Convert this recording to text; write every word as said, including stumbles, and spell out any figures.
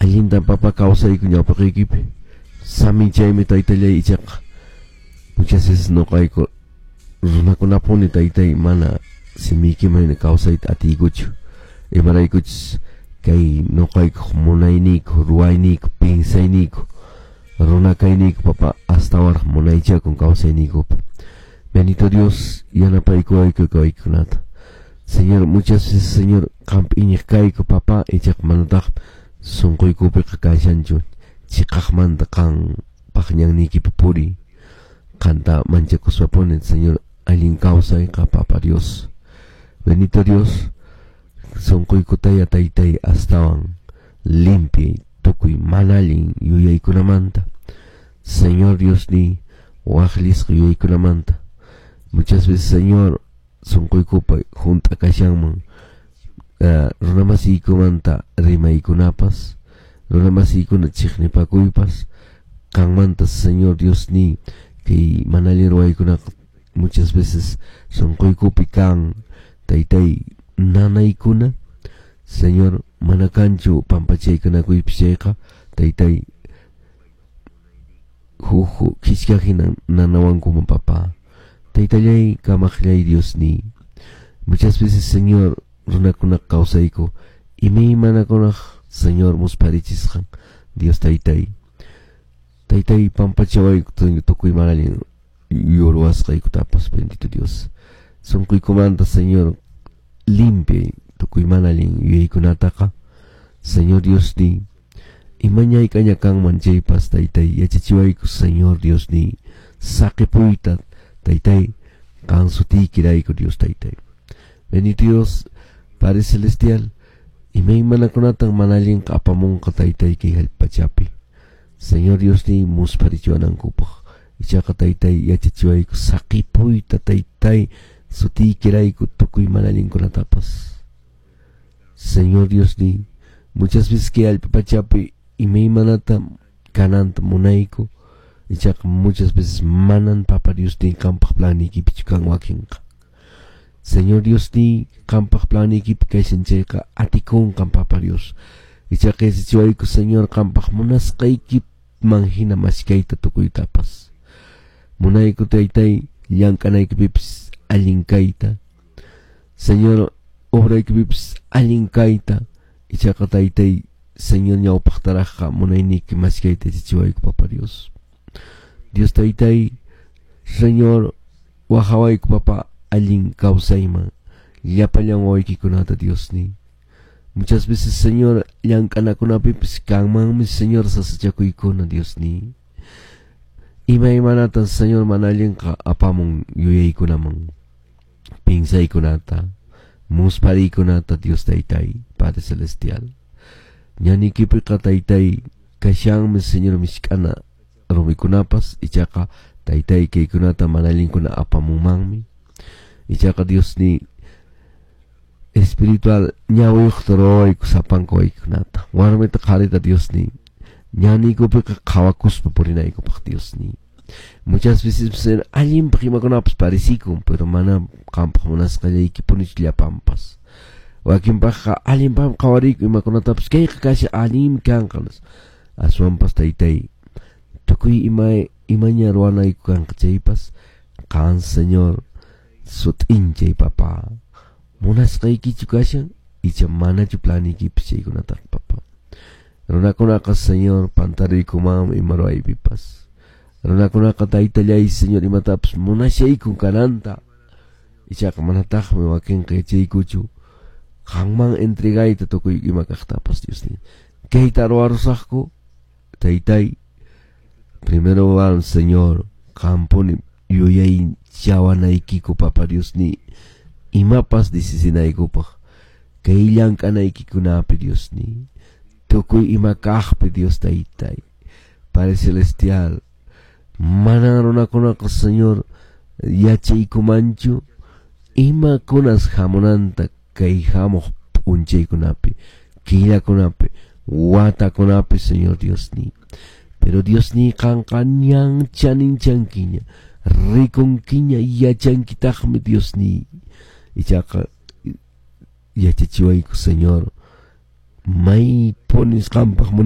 Allintan papa kawsayku ñawpaqiykipi. Saminchaymi taytallay ichaqa. Muchas veces nuqayku runakunapuni taytay mana simiykiman kawsayta atiykuchu. Imaraykuchus kay nuqaykuq munayniyku, ruwayniyku, pinsayniyku, runa kayniyku papa astawanraq munaychakun kawsayniykupi. Bendito Dios, yanapaykuwayku kawaykunata. Señor, muchas veces, Señor, qampi iñiq kayku papa, ichaqa manataq sunquykupiqa kashanchu chiqaqmanta qan paqñanniykipi puriy. Qanta manchakuspapuni, Señor, allin kawsayqa papa Dios. Bendito Dios, sunquykutaya taytay astawan limpiay tukuy mana allin yuyaykunamanta. Señor Dios ni waqllisqa yuyaykunamanta. Muchas veces, Señor, sunquykupa hunt'a kashanman uh, runamasiykumanta rimaykunapas, runamasiykuna chiqnipakuypas, qanmanta, Señor Dios ni kay mana allin ruwaykunaqa muchas veces sunquykupi kan taytay nanaykuna. Señor, mana kanchu pampachaykunakuypis chayqa taytay huk khichka hina nanawankuman papa. Taytallay kamaqllay Dios ni. Muchas veces, Señor, runakuna kawsayku imaymanakunaq Señor musparichisqan Dios taytay. Taytay pampachawayku tukuy mana allin ruwasqaykutapas, bendito Dios. Sunquykumanta, Señor, limpiay tukuy mana allin yuyaykunataqa. Señor Dios ni imañayk'aña kanman chaypas taytay yachachiwayku, Señor Dios ni saqipuyta taytay qan sutiykirayku Dios taytay. Bendito Dios, Padre Celestial, imaymanakunatan mana allinqa apamunqa taytay kay hallp'achapi. Señor Dios ni muspharichiwanankupaq. Ichaqa taytay yachachiwayku saqipuyta taytay sutiykirayku tukuy mana allinkunatapas. Señor Dios ni muchas veces kay hallp'apachapi imaymanata kananta munayku. Ichaqa muchas veces manan papa Dios ni qampaq planiykipichu kan wakinqa. Señor Dios ni qampaq planiykipi kashan chayqa atikunqan papa Dios. Ichaqa yachachiwayku, Señor, qampaq munasqaykiman hina maskayta tukuytapas. Munayku taytay llank'anaykipipis allin kayta. Señor, obraykipipis allin kayta. Ichaqa taytay, Señor, ñawpaqtaraqqa munayniyki maskayta yachachiwayku papa Dios. Dios taytay, Señor, waqawayku papa allin kawsayman llapallan wawaykikunata Dios ni. Muchas veces, Señor, llank'anakunapipis kanmanmi, Señor, sasachakuykuna Dios ni. Imaymanatan, Señor, mana allinqa apamun yuyaykunaman, pinsaykunata, muspariykunata Dios taytay, Padre Celestial. Ñaniykipiqa taytay kashanmi, Señor, misk'ana rumikunapas, ichaqa taytay kaykunata mana allinkuna apamunmanmi. Ichaqa Dios ni espiritual ñawiyuqta ruwayku sapanka waykunata. Warmita qharita Dios ni ñaniykupiqa qhawakuspa purinaykupaq Dios ni. Muchas veces allinpaq imakunapas parecikun, pero mana qampaq munasqallaykipunichu llapanpas. Wakinpaqqa allinpaqmi qhawariyku imakunatapas kayqa kasha allinmi kanqa. Aswanpas taytay tukuy ima imaña ruwanayku kanqa chaypas qan, Señor, sut'inchay papa. Munasqaykichu kashan icha manachu planiykipis chaykunataqa papa. Runakunaqa, Señor, pantariykumanmi ima ruwaypipas. Runakunaqa taytallay, Señor, imatapas munashaykun kananta. Ichaqa manataqmi wakinqa yachaykuchu qanman entregayta tukuy ima kaqtapas, Dios ni. Kayta ruwarusaqku, taytay, primero van, Señor, qampuni yuyaychawanaykiku papa Dios ni imapas decisinaykupaq kay llank'anaykikunapi Dios ni tukuy ima kaqpi Dios taytay. Padre Celestial, manan runakunaqa, Señor, yachaykumanchu imakunas hamunanta kay hamuq p'unchaykunapi, killakunapi, watakunapi, Señor Dios ni. Pero Dios ni qanqa ñan chaninchankiña, rikunkiña yachankitaqmi Dios ni. Ichaqa yachachiwayku, Señor, maypunis qampaq munay